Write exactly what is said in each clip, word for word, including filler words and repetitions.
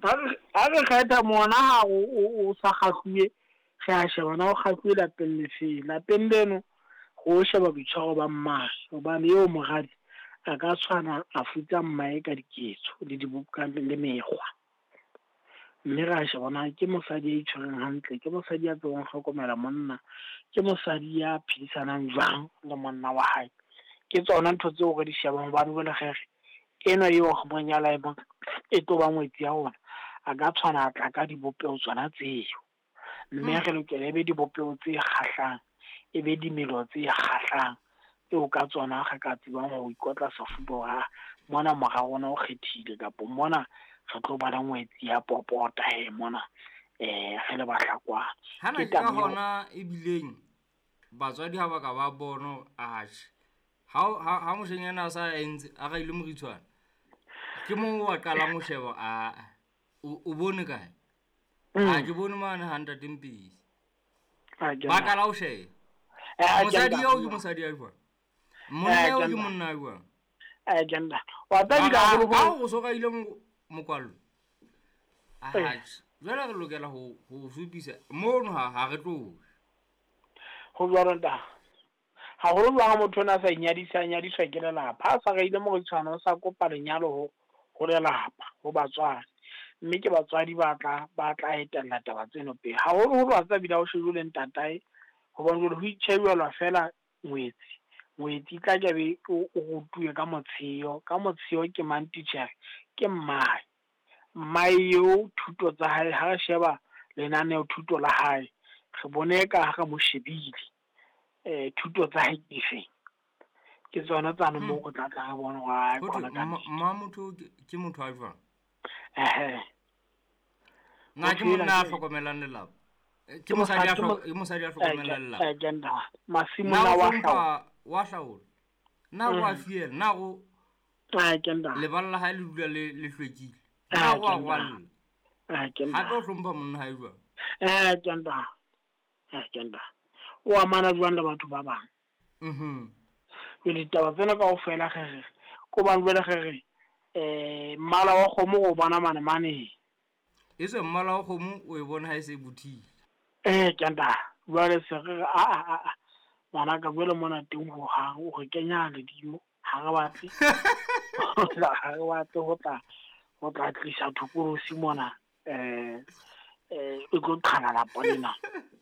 Ha re kgetha mona ha o sa kgahluwe, re a sheba na o kgahluwe lapeng lefe. Lapeng leno ho sheba boitshwaro ba mmae, hobane eo moradi a ka tshwana a futsa mmae ka diketso le dibuka le mekgwa. Mme ra sheba na ke mosadi ya itshwereng hantle, ke mosadi ya tsebang ho hlokomela monna, ke mosadi ya phedisanang jwang le monna wa hae. Ke tsona ntho tseo re di shebang hobane jwale re re enwa eo re mo nyala e e tlo ba ngwetsi ya rona, a ka tshwana a tla ka dibopeho tsona tseo. Mme re lokela e be dibopeho tse kgahlang, e be dimelo tse kgahlang, tseo ka tsona re ka tsebang ho ikotla sefuba hore mona mora rona o kgethile, kapa mona re tlo ba le ngwetsi ya popota he mona eh re le Bahlakwana. Hana ke ka hona ebileng batswadi ha ba ka ba bona atjhe ha ha moshenyana a sa entse a raile moritshwana, ke mo wa qalang ho sheba a o bone kae? A ke bone mane ha ntate Mpisi. Ba qala ho sheba. Mosadi eo ke mosadi ya jwang? Monna eo ke monna ya jwang? Eh janda. Wa tla ka ho o so raile mokwallo. Atjhe, jwale re lokela ho ho supisa mono ha ha re tlo. Ho jwalo nta. Haholo jwang motho ona sa inyadisa nyadiswa ke lelapa. Ha sa raile moritshwana o sa kopa lenyalo ho ho lelapa, ho batswadi. Mme ke batswadi ba tla ba tla etella taba tseno pele. Haholoholo ha tsa bile ho shejwe le ntatae, hobane jwale ho itjhebelwa fela ngwetsi. Ngwetsi tla ke be o rutuwe ka motsheo, ka motsheo ke mang titjhere? Ke mmae. Mmae eo thuto tsa hae, ha re sheba lenaneo thuto la hae, re bone ka ha re mo shebile eh thuto tsa hae ke dife. Ke tsona tsane moo re tla tla re bona hore kgona ka mma motho ke motho a jwang. Eh na ke monna a hlokomelang lelapa, ke mosadi a ke mosadi a hlokomelang lelapa. Agenda masimo na wa hlaola wa hlaola na wa fiela na go agenda leballa la hae le dula le le hlwekile na wa rwalla agenda ha tlo hlompha monna hae jwang. Agenda agenda o amana jwang le batho ba bang. Mhm jwale ditaba tsena kaofela re re ko bang jwale re re eh mmala wa kgomo o bona mane mane. E se mmala wa kgomo o e bona ha e se bothile. Eh kenda jwale se re a a a ngwana ka jwale mona teng ho hang o re kenya ledimo, ha re batle ha re batle ho tla ho tla tlisa thokolosi mona eh eh e tlo qhala lapa lena.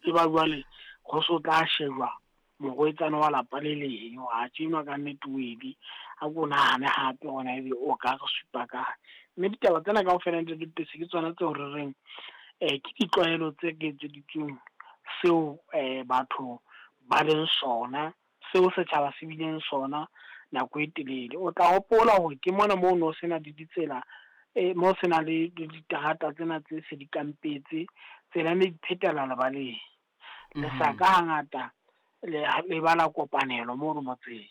E ba jwale ho so tla shejwa morwetsana wa lapa le leng wa tjena ka nnete o edi a ko nahane hape hona ebe o ka re supa ka. Mme ditaba tsena kaofela ntate Mpisi ke tsona tseo re reng eh ke ditlwaelo tse ke etseditsweng seo eh batho ba leng sona, seo setjhaba se bileng sona nako e telele. O tla hopola hore ke mona moo no sena le ditsela eh mo sena le diterata tsena tse se di kampetse, tsela ne di phetela lebaleng. Le sa ka hangata le le bala kopanelo mo motseng.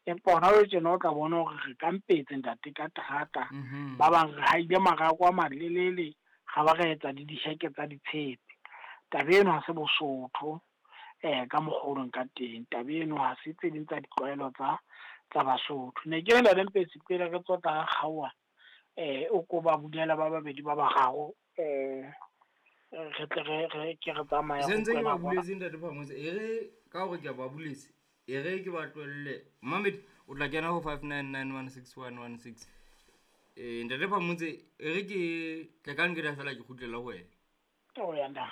Empa hona jwale tjena o tla bona hore re kampetse ntate ka terata, ba bang re haile marako a malelele, ga ba re etsa le diheke tsa ditshepe. Taba eno ha se Bosotho eh ka mokgolong ka teng. Taba eno ha se tse ding tsa ditlwaelo tsa tsa Basotho. Ne ke re ntate Mpisi pele re tswa tla kgaoha eh o ko ba bulela ba babedi ba bararo eh re tle re re ke re tsamaya. Se ntse ke ba buletse ntate Phamotse, e re ka hore ke a ba buletse, e re ke ba tlohelle. Mamedi o tla kena ho five nine nine one six one one six. Eh ntate Phamotse e re ke tla ka nkela fela ke kgutlela ho wena. O ya nda.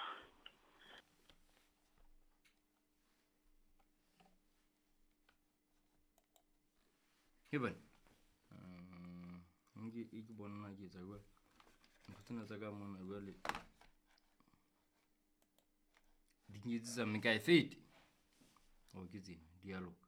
Heban. Nke e ke bona ke etsa jwale. Ntho tsena tsa ka mona jwale di nketsetsa mme ka e fete. O ke tsena, di a loka.